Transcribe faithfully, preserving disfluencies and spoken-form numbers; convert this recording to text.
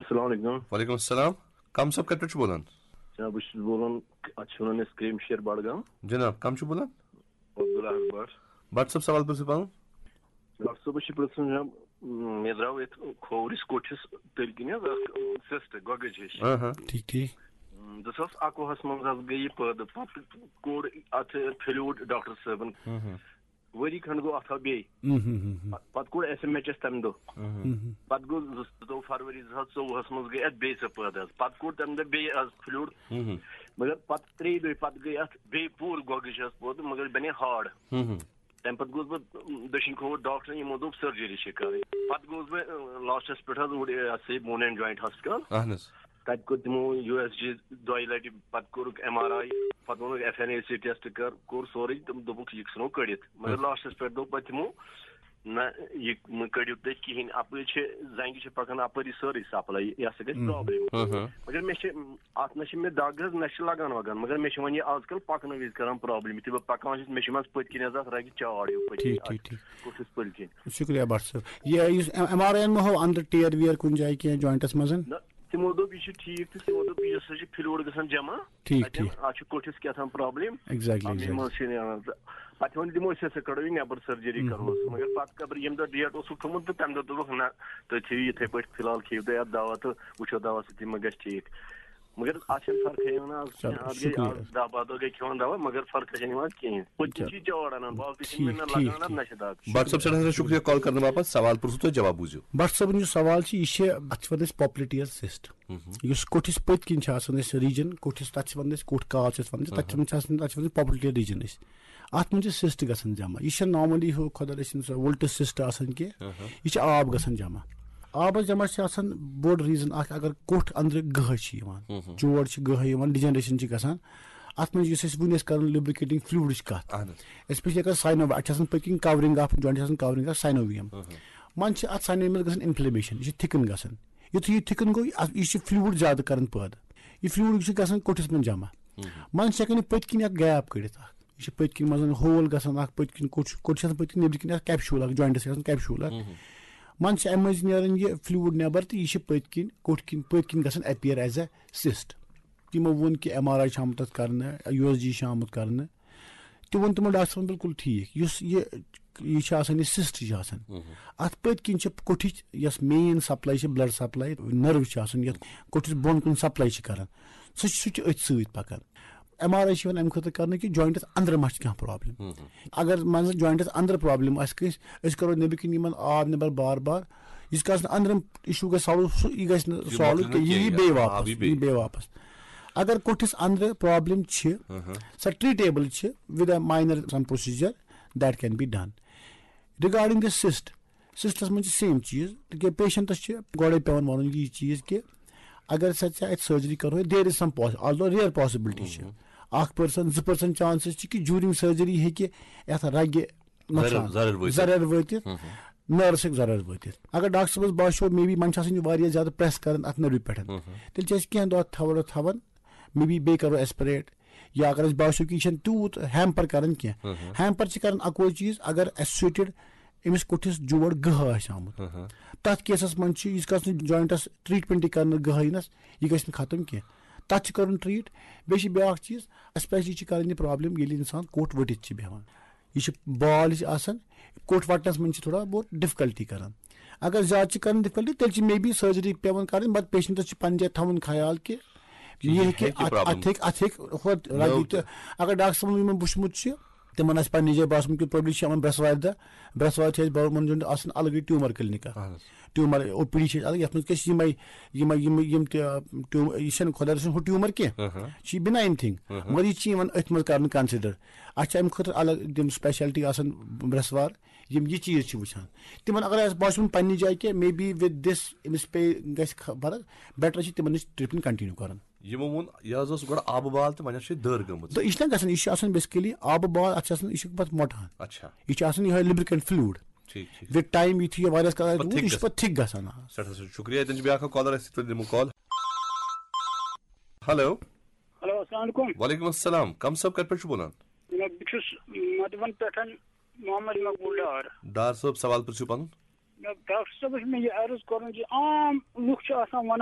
السلام علیکم۔ وعلیکم السلام۔ کم صٲب کتہِ پٮ۪ٹھ چھُ بولان؟ جناب، بہٕ چھُس بولان، اتھ چھِ ونان أسۍ کریم شیر بڈگام۔ جناب، کم چھُ بولان؟ عبداللہ بٹ۔ بٹ صٲب، سوال پرٛژھِو پنُن۔ ڈاکٹر صٲب، بہٕ چھُس پرٛژھُن، جناب، مےٚ درٛاو یتھ کھوورِس کوٚٹھِس تٔلۍ کِنۍ حظ اکھ سِسٹ گۄگٕج ہِش۔ آ ہا۔ ٹھیٖک، ٹھیٖک۔ زٕ ساس اَکوُہَس منٛز حظ گٔے یہِ پٲدٕ، پتہٕ کوٚڑ اتھ فلوٗڈ ڈاکٹر صٲبن۔ ہم ہم۔ ؤری کھنڈ گوٚو اتھ آو بیٚیہِ۔ ہم ہم ہم ہم۔ پتہٕ کوٚڑ ایس ایم ایچ ایس تمہِ دۄہ۔ ہم ہم۔ ہم ہم۔ پتہٕ گوٚو زٕ، زٕتووُہ فروری زٕ ساس ژوٚوُہس منٛز گٔے اتھ بیٚیہِ سۄ پٲدٕ حظ۔ پتہٕ کوٚڑ تمہِ دۄہ بیٚیہِ حظ فلوٗڈ۔ ہم ہم۔ مگر پتہٕ ترٛیٚیہِ دۄہہِ پتہٕ گٔے اتھ بیٚیہِ پوٗرٕ گۄگٕج حظ پٲدٕ، مگر بنے ہارڈ۔ ہم ہم۔ تمہِ پتہٕ گوٚوس بہٕ دٔچھِنۍ کھووُر ڈاکٹرن، یِمو دوٚپ سرجری چھِ کرٕنۍ۔ پتہٕ گوٚوس بہٕ، اۭں، لاسٹس پٮ۪ٹھ حظ اوٗرۍ، یہِ ہسا یہِ بون اینڈ جوینٹ ہاسپٹل۔ اہن حظ۔ تتہِ کوٚر تِمو یو ایس جی دۄیہِ لٹہِ، پتہٕ کوٚرُکھ ایم آر آی، پتہٕ ووٚنُکھ F N A C test کر، کوٚر سورُے، تِم دوٚپُکھ یہِ ژھٕنو کٔڑِتھ۔ مگر ہم۔ لاسٹس پٮ۪ٹھ دوٚپ پتہٕ تِمو، نہ، یہِ مہٕ کٔڑِو تُہۍ کِہینۍ، اپٲرۍ چھِ زنگہِ چھِ پکان اپٲری سٲرٕے سپلاے، یہِ ہسا گژھِ ہم۔ پرابلم۔ ہم ہم۔ مگر مےٚ چھِ، اتھ نہ چھِ مےٚ دگ حظ، نہ چھِ لگان وگان، مگر مےٚ چھِ وۄنۍ یہِ آز کل پکنہٕ وِزِ کران پرابلم، یُتھُے بہٕ پکان چھُس، مےٚ چھِ منٛز پٔتۍ کِنۍ حظ اتھ رگہِ چاڑ ہیوٗ پٔتۍ کِنۍ، ٹھیٖک، اتھ ٹھیٖک، ٹھیٖک۔ کوٚٹھِس پٔتۍ کِنۍ۔ شُکریہ بٹ صٲب۔ یہِ یُس ایم آر آی یَن ما ہوو اندر ٹیر ویر کُنہِ جایہِ کینٛہہ جوینٹس منٛز؟ نہ، تِمو دوٚپ یہِ چھُ ٹھیٖک تہٕ تِمو دوٚپ یہِ ہسا چھُ فلوٗڈ گژھان جمع۔ ٹھیٖک، اَتٮ۪ن، ٹھیٖک۔ اتھ چھُ کوٚٹھِس کیٛاہ تام پرابلم۔ ایگزیکٹلی، آ، مےٚ ایگزیکٹلی۔ منٛز چھِ نیران۔ پتہٕ ووٚن تِمو أسۍ ہسا کڑو یہِ نٮ۪بر سرجری ہم۔ کرہوس، مگر پتہٕ قبر ییٚمہِ دۄہ ڈیٹ اوسُکھ تھوٚمُت تہٕ تمہِ دۄہ دوٚپُکھ نہ، تُہۍ تھٲیِو یِتھے پٲٹھۍ، فی الحال کھیٚیِو تُہۍ اتھ دوا تہٕ وٕچھو دوا سۭتی ما گژھِ ٹھیٖک۔ مگر اتھ چھنہٕ فرقٕے یِوان آز چلو، کینٛہہ۔ اتھ گٔے شُکریہ۔ آز دہ باہ دۄہ گٔے کھٮ۪وان دوا، مگر فرقٕے چھنہٕ یِوان کِہینۍ۔ پٔتۍ کِنۍ چلو۔ چھِ یہِ چاڑ انان، باقٕے چھِنہٕ مےٚ ٹھیٖک، نہ ٹھیٖک، لگان اتھ، نہ ٹھیٖک۔ چھِ دگ۔ بٹ صٲب، سٮ۪ٹھاہ سٮ۪ٹھاہ شُکریہ کال کرنہٕ باپتھ۔ سوال پرٛژھُو تۄہہِ، جواب بوٗزِو۔ بٹ صٲبُن یُس سوال چھُ، یہِ چھِ، اتھ چھِ ونان أسۍ پاپلیٹیل سِسٹ۔ ہم۔ یُس کوٚٹھِس پٔتۍ کِنۍ چھِ آسان اَسہِ ریٖجن، کوٚٹھِس، تَتھ چھِ وَنان أسۍ کوٚٹھ کال چھِ أسۍ وَنان، تَتھ چھِ وَنان، تَتھ چھِ وَنان پاپلیٹیل ریٖجن أسۍ۔ اَتھ منٛز چھِ سِسٹ گژھان جمع۔ یہِ چھَنہٕ نارمٔلی ہُہ خۄدا رٔچھِنۍ سۄ وُلٹہٕ سِسٹ آسان کینٛہہ۔ اہاں۔ یہِ چھِ آب گژھان جمع۔ آبَس جمع چھِ آسان بوٚڑ ریٖزن اَکھ، اگر کوٚٹھ أنٛدرٕ گٔہہ چھِ یِوان، ہم ہم۔ چور چھِ گٔہہ یِوان، ڈِجَنریشن چھِ گژھان۔ اَتھ منٛز یُس أسۍ وٕنۍ ٲسۍ کَران لوبریکیٹنگ فلوٗڈٕچ کَتھ، اہن حظ۔ especially اگر ساینو، اَتھ چھِ آسان پٔتۍ کِنۍ کورنگ اَکھ، جوینٹ چھِ آسان کورنگ اَکھ ساینوویَم۔ اہاں۔ منٛزٕ چھِ اَتھ ساینوویَمَس گژھان انفلیمیشن، یہِ چھِ تھِکن گژھان۔ یُتھُے یہِ تھِکن گوٚو، یہِ، یہِ چھُ فلوٗڈ زیادٕ کران پٲدٕ۔ یہِ فلوٗڈ چھُ گژھان کوٚٹھِس منٛز جمع۔ ہم۔ منٛزٕ چھِ ہٮ۪کان یہِ پٔتۍ کِنۍ اکھ گیپ کٔڑِتھ اکھ۔ یہِ چھِ پٔتۍ کِنۍ منٛزٕ ہول گژھان اکھ، پٔتۍ کِنۍ کوٚٹ چھُ، کوٚٹ چھِ آسان پٔتۍ کِنۍ، نیٚبرۍ کِنۍ اکھ کیپشوٗل اکھ، جوینٹس چھِ آسان کیپشوٗل اکھ۔ ہم۔ منٛزٕ چھِ اَمہِ مٔنٛزۍ نیران یہِ فلوٗڈ نٮ۪بر تہٕ یہِ چھِ پٔتۍ کِنۍ، کوٚٹ کِنۍ، پٔتۍ کِنۍ گژھان appear as a cyst۔ تِمو ووٚن کہِ ایم آر آی چھُ آمُت تَتھ کرنہٕ، یو ایس جی چھُ آمُت کرنہٕ۔ تہِ ووٚن تِمو ڈاکٹر صٲبن بِلکُل ٹھیٖک، یُس یہِ، یہِ چھِ آسان، یہِ سِسٹ چھِ آسان، مہم۔ اَتھ پٔتۍ کِنۍ چھِ کوٚٹھِچ یۄس مین سپلاے چھِ، بلڈ سپلاے، نٔروٕز چھِ آسان، یَتھ کوٚٹھِس بۄن کُن سپلاے چھِ کران، سُہ چھُ، سُہ چھُ أتھۍ سۭتۍ پکان۔ ایم آر آی چھِ یِوان اَمہِ خٲطرٕ کرنہٕ کہِ جوینٹس أنٛدرٕ ما چھِ کانٛہہ پرابلم۔ مہم۔ اگر مان ژٕ جوینٹس أنٛدرٕ پرابلم آسہِ کٲنٛسہِ، أسۍ کرو نیٚبرۍ کِنۍ یِمن آب نٮ۪بر بار بار، ییٖتِس کالس نہٕ أنٛدرِم اِشوٗ گژھِ سالو، سُہ، یہِ گژھِ نہٕ یہِ سالو مۄکلہِ نہٕ کینٛہہ، یہِ کینٛہہ، بیٚیہِ آ، واپس، یہِ بیٚیہِ۔ یہِ بیٚیہِ واپس۔ اگر کوٚٹھِس أنٛدرٕ پرابلم چھِ، اہم۔ سۄ ٹریٹیبل چھِ with a minor some procedure that can be done۔ Regarding the cyst، سِسٹس منٛز چھِ سیم چیٖز، تِکیازِ پیشنٹس چھِ گۄڈے پٮ۪وان وَنُن یہِ چیٖز کہِ اگر سا ژےٚ اَتہِ سرجری کرو، there is some although rare possibility چھِ، مہم۔ اکھ پٔرسنٹ، زٕ پٔرسنٹ چانسز چھِ کہِ during surgery ہیٚکہِ یَتھ رگہِ نۄقصان، زرٮ۪ر، زرٮ۪ر وٲتِتھ۔ زرٮ۪ر وٲتِتھ، ہم، ہم۔ نٔرٕس ہیٚکہِ زرٮ۪ر وٲتِتھ۔ اگر ڈاکٹر صٲبس باسیو maybe وۄنۍ چھِ آسان یہِ واریاہ زیادٕ پریس کران اتھ نٔروِ پٮ۪ٹھ، ہم، ہم۔ تیٚلہِ چھِ أسۍ کینٛہہ دۄہ تھاوان، تھاوان، maybe بیٚیہِ کرو aspirate، یا اگر أسۍ باسیو کہِ یہِ چھَنہٕ تیوٗت ہیمپر کران کینٛہہ۔ ہم، ہم۔ ہیمپر چھِ کران اکوے چیٖز، اگر associated أمِس کوٚٹھِس جوڑ گٔہہ آسہِ آمُت۔ ہم، ہم۔ تتھ کیسس منٛز چھُ، ییٖتِس کالس نہٕ جوینٹس ٹریٹمنٹ کرنہٕ گٔہہ یِنس، یہِ گژھِ نہٕ ختم کینٛہہ۔ تتھ چھِ کرُن ٹریٹ۔ بیٚیہِ چھِ بیاکھ چیٖز، اسپیشلی چھِ کران یہِ پرابلم ییٚلہِ انسان کوٚٹ ؤٹِتھ چھِ بیٚہوان۔ یہِ چھِ بال یہِ چھِ آسان، کوٚٹ وَٹنَس منٛز چھِ تھوڑا بہت ڈِفکَلٹی کَران۔ اگر زیادٕ چھِ کَران ڈِفکَلٹی، تیٚلہِ چھِ maybe surgery پٮ۪وان کَرٕنۍ، but پیشنٹَس چھِ پَنٕنہِ جایہِ تھاوُن خیال کہِ یہِ یہِ ہیٚکہِ ہیٚکہِ اَتھ، problem۔ اَتھ ہیٚکہِ، اَتھ ہیٚکہِ ہورٕ نٔو لَگہِ تہِ۔ تہِ۔ اگر ڈاکٹر صٲبَن یِمَن وٕچھمُت چھُ، تِمَن آسہِ پَنٕنہِ جایہِ باسمُت کہِ problem چھِ یِمَن برٛٮ۪سوارِ دۄہ، برٛٮ۪سوارِ چھِ اَسہِ بَرو-، یِمَن آسان الگٕے ٹیوٗمَر کِلنِک اَکھ۔ اَہَن حظ۔ ٹیوٗمَر او پی ڈی چھِ اَسہِ الگ، یَتھ منٛز کیٛاہ چھِ یِمَے، یِمَے، یِم، یِم تہِ، ٹیوٗ-، یہِ چھَنہٕ خۄدا رٔچھِن ہُہ ٹیوٗمَر کینٛہہ، اہَن۔ یہِ چھِ benign thing۔ اہَن۔ مگر یہِ چھِ یِوان أتھۍ منٛز کَرنہٕ consider۔ اَتھ چھِ اَمہِ خٲطرٕ الگ تِم specialty آسان برٛٮ۪سوار، یِم یہِ چیٖز چھِ وٕچھان۔ تِمن اگر اَسہِ باسیٚو پَننہِ جایہِ کہِ maybe with this أمِس پیٚیہِ، گژھِ خ-، فرق، better چھِ تِمن نِش treatment continue کَرُن۔ یِمو ووٚن، یہِ حظ اوس گۄڈٕ آبہٕ بال تہٕ وۄنۍ حظ چھِ یہِ دٔر گٔمٕژ۔ تہٕ یہِ چھِنہ گژھان، یہِ چھِ آسان basically آبہٕ بال، اَتھ چھِ آسان، یہِ چھُ پَتہٕ مۄٹان۔ اچھا۔ یہِ چھُ آسان یِہوٚے lubricant fluid۔ ٹھیٖک، ٹھیٖک۔ With time یُتھُے یہِ واریاہَس کالَس پَتہٕ روٗد، تھِک یہِ چھُ گژھان۔ پَتہٕ تھِک گژھان، آ۔ سٮ۪ٹھاہ سٮ۪ٹھاہ شُکریہ۔ تیٚلہِ چھُ بیٛاکھ اَکھ caller اَسہِ سۭتۍ، تُلِو call۔ Hello۔ Hello، السلام علیکُم۔ وعلیکُم السلام۔ کَم صٲب کَتہِ پٮ۪ٹھ چھُو بولان؟ جناب، بہٕ چھُس مدوَن پٮ۪ٹھ محمد مقبول ڈار۔ ڈار صٲب، سوال پرٛژھِو پَنُن۔ ڈاکٹر صٲبس مےٚ یہِ عرض کرُن زِ عام لُکھ چھِ آسان ونان